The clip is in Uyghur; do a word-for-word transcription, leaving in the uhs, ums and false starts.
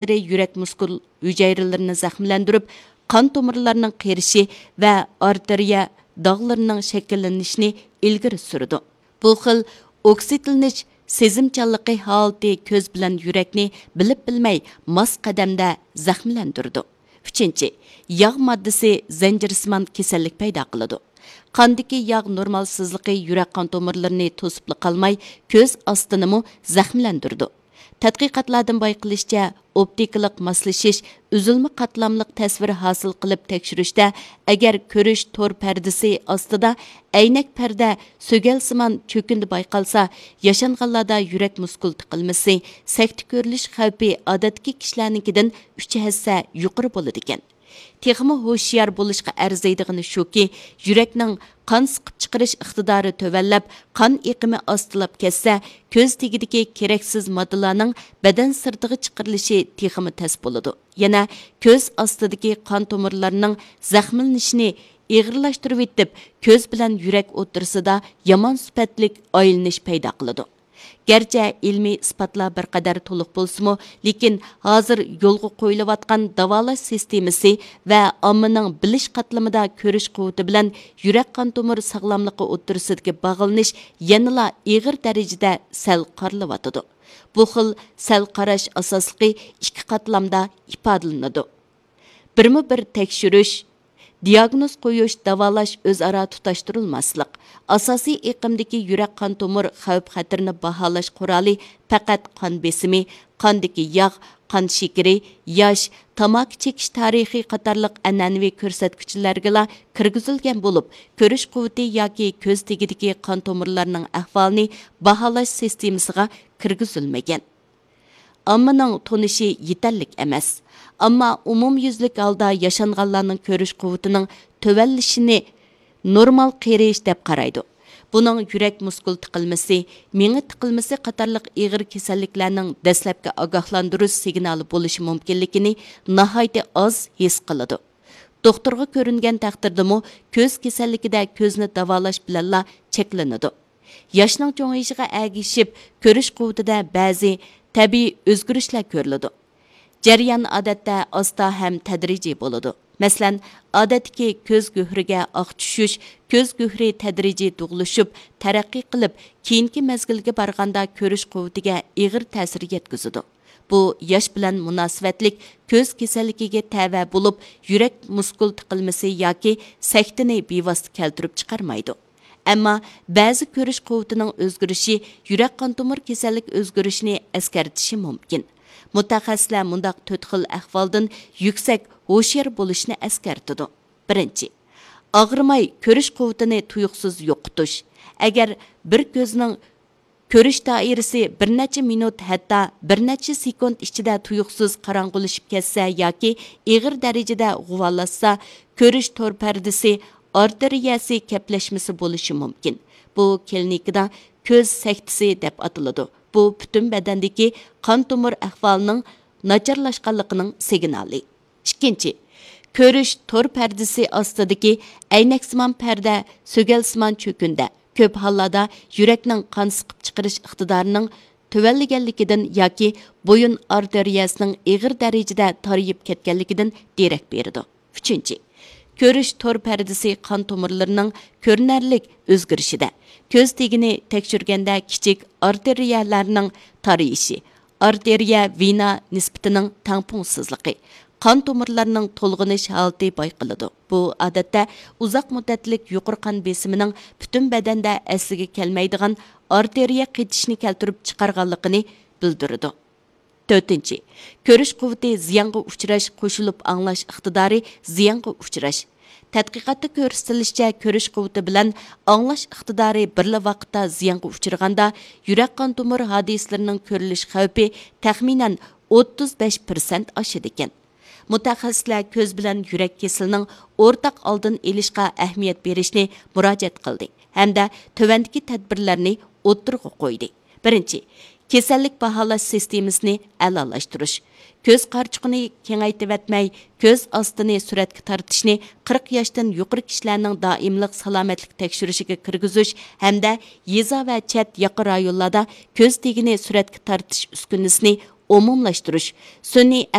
تەسىرى يۈرەك مۇسكۇل ھۈجەيرىلىرىنى زەخىملەندۈرۈپ، قان تومۇرلارنىڭ قېرىشى ۋە ئارتېرىيە داغلىرىنىڭ شەكىللىنىشىنى ئىلگىرى سۈرىدۇ. بۇ خىل ئوكسىدلىنىش سېزىمچانلىقى ھالىتى كۆز بىلەن يۈرەكنى بىلىپ بىلمەي ماس قەدەمدە زەخىملەندۈرىدۇ. ئۈچىنچى، ياغ ماددىسى زەنجىرسىمان كېسەللىك پەيدا قىلىدۇ. قاندىكى ياغ نورمالسىزلىقى يۈرەك قان تومۇرلىرىنى توسۇپلا قالماي، كۆز ئاستىنىمۇ زەخىملەندۈرىدۇ. تەتقىقاتلاردىن بايقىلىشىچە، ئوپتىكىلىق ماسلىشىش ئۈزۈلمە قاتلاملىق تەسۋىر ھاسىل قىلىپ تەكشۈرۈشتە، ئەگەر كۆرۈش تور پەردىسى ئاستىدا ئەينەك پەردە سۆگەلسىمان چۆكۈندى بايقالسا، ياشانغانلاردا يۈرەك مۇسكۇل تىقىلمىسى، سەكتە كۆرۈلۈش خەۋپى ئادەتتىكى كىشىلەرنىڭكىدىن ئۈچ ھەسسە يۇقىرى بولىدىكەن. تېخىمۇ ھوشيار بولۇشقا ئەرزىيدىغىنى شۇكى، يۈرەكنىڭ قان سىقىپ چىقىرىش ئىقتىدارى تۆۋەنلەپ، قان ئېقىمى ئاستىلاپ كەتسە، كۆز تېگىدىكى كېرەكسىز ماددىلارنىڭ بەدەن سىرتىغا چىقىرىلىشى تېخىمۇ تەس بولىدۇ. يەنە كۆز ئاستىدىكى قان تومۇرلىرىنىڭ زەخىملىنىشىنى ئېغىرلاشتۇرۇۋېتىپ، كۆز بىلەن يۈرەك ئوتتۇرىسىدا يامان سۈپەتلىك ئايلىنىش پەيدا قىلىدۇ. گەرچە ئىلمىي ئىسپاتلار بىر قەدەر تولۇق بولسىمۇ، لېكىن ھازىر يولغا قويۇلۇۋاتقان داۋالاش سىستېمىسى ۋە ئاممىنىڭ بىلىش قاتلىمىدا كۆرۈش قۇۋۋىتى بىلەن يۈرەك قان تومۇر ساغلاملىقى ئوتتۇرىسىدىكى باغلىنىش يەنىلا ئېغىر دەرىجىدە سەل قارىلىۋاتىدۇ. بۇ خىل سەل قاراش ئاساسلىقى ئىككى قاتلامدا ئىپادىلىنىدۇ. بىرمۇ بىر تەكشۈرۈش، دىياگنوز قويۇش، داۋالاش ئۆزئارا تۇتاشتۇرۇلماسلىق، ئاساسىي ئېقىمدىكى يۈرەك قان تومۇر خەۋپ خەتىرىنى باھالاش قورالى پەقەت قان بېسىمى، قاندىكى ياغ، قان شېكىرى، ياش، تاماكا چېكىش تارىخى قاتارلىق ئەنئەنىۋى كۆرسەتكۈچلەرگىلا كىرگۈزۈلگەن بولۇپ، كۆرۈش قۇۋۋىتى ياكى كۆز تېگىدىكى قان تومۇرلارنىڭ ئەھۋالىنى باھالاش سىستېمىسىغا كىرگۈزۈلمىگەن. ئاممىنىڭ تونۇشى يېتەرلىك ئەمەس. ئامما ئومۇميۈزلۈك ھالدا ياشانغانلارنىڭ كۆرۈش قۇۋۋىتىنىڭ تۆۋەنلىشىنى نورمال قېرىيىش دەپ قارايدۇ. بۇنىڭ يۈرەك مۇسكۇل تىقىلمىسى، مېڭە تىقىلمىسى قاتارلىق ئېغىر كېسەللىكلەرنىڭ دەسلەپكى ئاگاھلاندۇرۇش سىگنالى بولۇشى مۇمكىنلىكىنى ناھايىتى ئاز ھېس قىلىدۇ. دوختۇرغا كۆرۈنگەن تەقدىردىمۇ، كۆز كېسەللىكىدە كۆزنى داۋالاش بىلەنلا چەكلىنىدۇ. ياشنىڭ چوڭىيىشىغا ئەگىشىپ، كۆرۈش قۇۋۋىتىدە بەزى تەبىئىي ئۆزگىرىشلەر كۆرۈلىدۇ. جەريان ئادەتتە ئاستا ھەم تەدرىجىي بولىدۇ. مەسىلەن، ئادەتتىكى كۆز گۆھىرىگە ئاق چۈشۈش، كۆز گۆھىرى تەدرىجىي دۇغلىشىپ، تەرەققىي قىلىپ، كېيىنكى مەزگىلگە بارغاندا كۆرۈش قۇۋۋىتىگە ئېغىر تەسىر يەتكۈزىدۇ. بۇ ياش بىلەن مۇناسىۋەتلىك كۆز كېسەللىكىگە تەۋە بولۇپ، يۈرەك مۇسكۇل تىقىلمىسى ياكى سەكتىنى بىۋاسىتە كەلتۈرۈپ چىقارمايدۇ. ئەمما بەزى كۆرۈش قۇۋۋىتىنىڭ ئۆزگىرىشى يۈرەك قان تومۇر كېسەللىك ئۆزگىرىشىنى ئەسكەرتىشى مۇمكىن. مۇتەخەسسىسلەر مۇنداق تۆت خىل ئەھۋالدىن يۈكسەك ھوشيار بولۇشنى ئەسكەرتىدۇ. بىرىنچى، ئاغرىماي كۆرۈش قۇۋۋىتىنى تۇيۇقسىز يوقىتىش. ئەگەر بىر كۆزنىڭ كۆرۈش دائىرىسى بىر نەچچە مىنۇت، ھەتتا بىر نەچچە سېكۇنت ئىچىدە تۇيۇقسىز قاراڭغۇلىشىپ كەتسە ياكى ئېغىر دەرىجىدە غۇۋالاشسا، كۆرۈش تور پەردىسى ئارتېرىيەسى كەپلەشمىسى بولۇشى مۇمكىن. بۇ كلىنىكىدا كۆز سەكتىسى دەپ ئاتىلىدۇ. بۇ پۈتۈن بەدەندىكى قان تومۇر ئەھۋالىنىڭ ناچارلاشقانلىقىنىڭ سىگنالى. ئىككىنچى، كۆرۈش تور پەردىسى ئاستىدىكى ئەينەكسىمان پەردە، سۆگەلسىمان چۆكۈندە، كۆپ ھاللاردا يۈرەكنىڭ قان سىقىپ چىقىرىش ئىقتىدارىنىڭ تۆۋەنلىگەنلىكىدىن ياكى بويۇن ئارتېرىيەسىنىڭ ئېغىر دەرىجىدە تارىيىپ كەتكەنلىكىدىن دېرەك بېرىدۇ. ئۈچىنچى، كۆرۈش تور پەردىسى قان تومۇرلىرىنىڭ كۆرۈنەرلىك ئۆزگىرىشىدە، كۆز تېگىنى تەكشۈرگەندە كىچىك ئارتېرىيەلەرنىڭ تارىيىشى، ئارتېرىيە ۋېنا نىسبىتىنىڭ تەڭپۇڭسىزلىقى، قان تومۇرلارنىڭ تولغىنىش ھالىتى بايقىلىدۇ. بۇ، ئادەتتە، ئۇزاق مۇددەتلىك يۇقىرى قان بېسىمىنىڭ پۈتۈن بەدەندە ئەسلىگە كەلمەيدىغان ئارتېرىيە قېتىشنى كەلتۈرۈپ چىقارغانلىقىنى بىلدۈرىدۇ. تۆتىنچى، كۆرۈش قۇۋۋىتى زىيانغا ئۇچراش قوشۇلۇپ ئاڭلاش ئىقتىدارى زىيانغا ئۇچراش. تەتقىقاتتا كۆرسىتىلىشىچە، كۆرۈش قۇۋۋىتى بىلەن ئاڭلاش ئىقتىدارى بىرلا ۋاقىتتا زىيانغا ئۇچرىغاندا، يۈرەك قان تومۇر ھادىسىلىرىنىڭ كۆرۈلۈش خەۋپى تەخمىنەن ئوتتۇز بەش پىرسەنت ئاشىدىكەن. مۇتەخەسسىسلەر كۆز بىلەن يۈرەك كېسىلىنىڭ ئورتاق ئالدىنى ئېلىشقا ئەھمىيەت بېرىشنى مۇراجىئەت قىلدى ھەمدە تۆۋەندىكى تەدبىرلەرنى ئوتتۇرىغا قويدى. بىرىنچى، كېسەللىك باھالاش سىستېمىسىنى ئەلالاشتۇرۇش. كۆز قارىچۇقىنى كېڭەيتىۋەتمەي، كۆز ئاستىنى سۈرەتكە تارتىشنى قىرىق ياشتىن يۇقىرى كىشىلەرنىڭ دائىملىق سالامەتلىك تەكشۈرۈشىگە كىرگۈزۈش ھەمدە يېزا ۋە چەت ياقا رايونلاردا كۆز تېگىنى سۈرەتكە تارتىش ئۈسكۈنىسىنى ئومۇملاشتۇرۇش، سۈنئىي